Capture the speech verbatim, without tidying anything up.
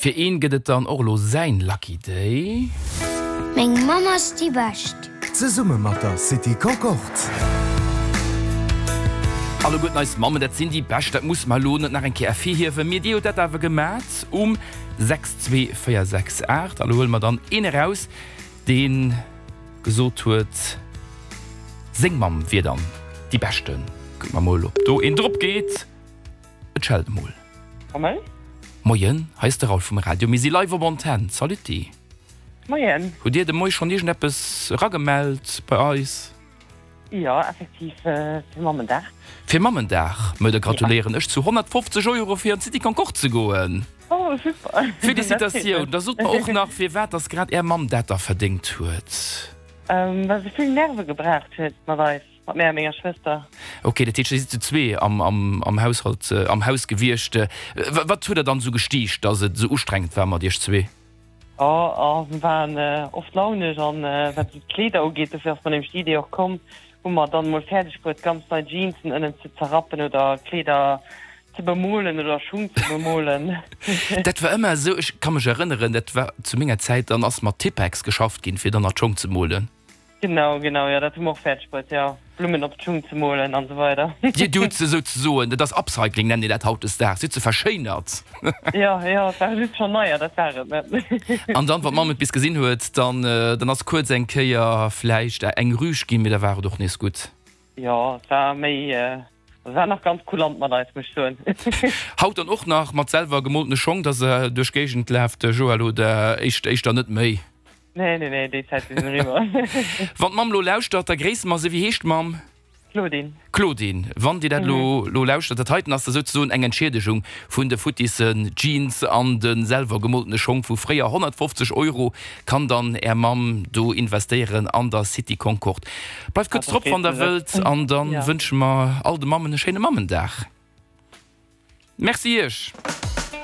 Fir een gëtt et dann och elo säin Lucky Day. Meng Mamm ass déi Bescht. Zesumme mat der City Concorde. Alleguerten eis Mammen, dat sinn déi Bescht, dat musse mer elo net nach eng Kéier ervirhiewen, mee dir hutt dat awer gemat um sechs zwee véier sechs aacht. A lo huele mer dann een eraus, dee gesot huet, seng Mamm wier dann déi Beschten. Kucke mer mol, ob do een drop geet. Et schellt emol. Moien. Moien, hei ass de Raoul vum Radio. Mir si live op Antenn. Saluti. Moien. Hutt Dir de Moie schonn iergendeppes eragemellt bei eis? Jo, effektiv fir Mammendag. Fir Mammendag? Mä da gratuléieren ech zu honnertfofzeg Euro fir an d'City Concorde ze goen. Oh, super. Felicitatioun. Da sot mer och nach, firwat dass grad Är Mamm dat da verdéngt huet. Well se vill Nerve gebraucht huet mat eis. Mat mär a menger Schwëster. Ok, dat heescht, dir sidd zu zwee am, am, am Haushalt, am Haus gewiescht. Wat huet der dann esou gestiicht, dass et esou ustrengend war mat iech zwee? Oh, oh, mir waren oft launesch an wat esou d'Kleeder ugeet, dofir ass mer nämlech déi Idee och komm, hu mer dann emol fäerdeg bruet, ganz nei Jeansen ënnen ze zerrappen oder Kleeder ze bemolen oder Schung ze bemolen. Dat war ëmmer esou, ech ka mech erënneren, dat war zu menger Zäit, dann ass mat Tippex geschafft ginn, fir dann nach d'Schong ze molen. Genau, genau, jo, dat hu mer och fäerdeg bruet, jo, Blummen op d'Schung ze molen an esou weider. Dir hutt se souzesoen, dat ass Upcycling, nennt een dat hautdesdaags, dir hutt se verschéinert. Jo, jo, et ware just schonn neier, dat war et net. An dann, wann d'Mamm et bis gesinn huet, dann, dann ass kuerz eng Kéier vläicht eng Rüg ginn, mee da war et och nees gutt. Jo, et war méi, et war nach ganz kulant mat eis, muss ech soen. Haut dann och nach mat selwer gemoltene Schong, dass se duerch d'Géigend laaft, Joël, oder éischter net méi? Nee, nee, nee, déi Zäite sinn eriwwer. Wann d'Mamm elo lauschtert, da gréisse mer se. Wéi heescht d'Mamm? Claudine. Claudine, wann Dir dat elo elo lauschtert, dat heiten ass da souzesoen eng Entschiedegung vun de futtissen Jeans an de selwer gemoltene Schong vu fréier. honnertfofzeg Euro kann dann Är Mamm do investéieren an der City Concorde. Bleift kuerz drop, wann Der wëllt, an da wënsche mer all de Mammen e schéine Mammendag. Merci Iech.